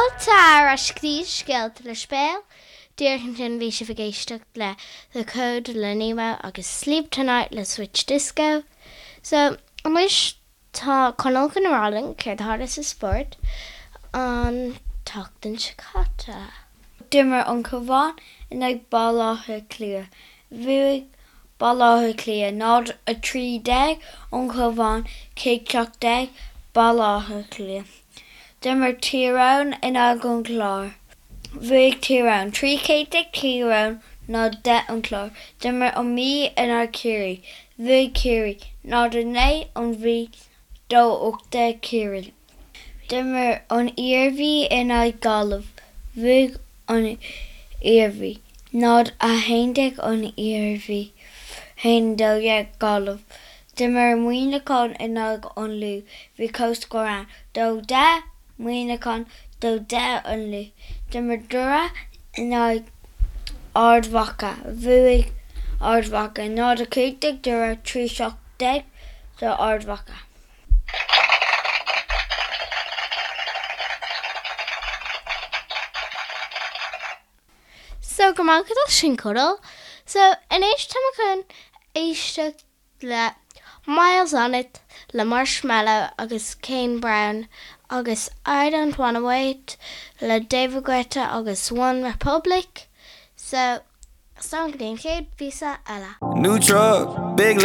Fáilte ar ais go dtí Scéalta le Spéal. Díreach ansin bhí sibh ag éisteacht le The Code le Nemo agus Sleep Tonight le Switch Disco. So, anois tá Conall chun a rá linn céard a tharla sa spórt an tseachtain seo caite. D'imir an Cabhán in aghaidh Baile Átha Cliath. Bhuaigh Baile Átha Cliath 0, 13, An Cabhán 1, 17, Baile Átha Cliath. D'imir Tír Eoghain in aghaidh an Chláir. Bhuaigh Tír Eoghain 13 céad Tír Eoghain 0, 10 An Clár. D'imir an Mhí in aghaidh Chiarraí. Bhuaigh Ciarraí 0, 9 An Mhí 2, 18 Ciarraí. D'imir an Iarmhí in aghaidh Gaillimh. Bhuaigh an Iarmhí 0, 11 An Iarmhí 1, 12 Gaillimh. D'imir Muineachán in aghaidh an Lú. Bhí comhscór ann, 2, 10 Muineachán, 2, 10 An Lú. D'imir Doire in aghaidh Ard Mhacha. Bhuaigh Ard Mhacha 0, 15 Doire, 3, 17 do Ard Mhacha. So go maith agat as sin Conall. So anois tá mé chun éisteacht le Miles on It le Marshmello agus Kane Brown agus I Don't Wanna Wait le David Guetta agus One Republic. So slán go dtí an chéad phíosa eile. New truck, big.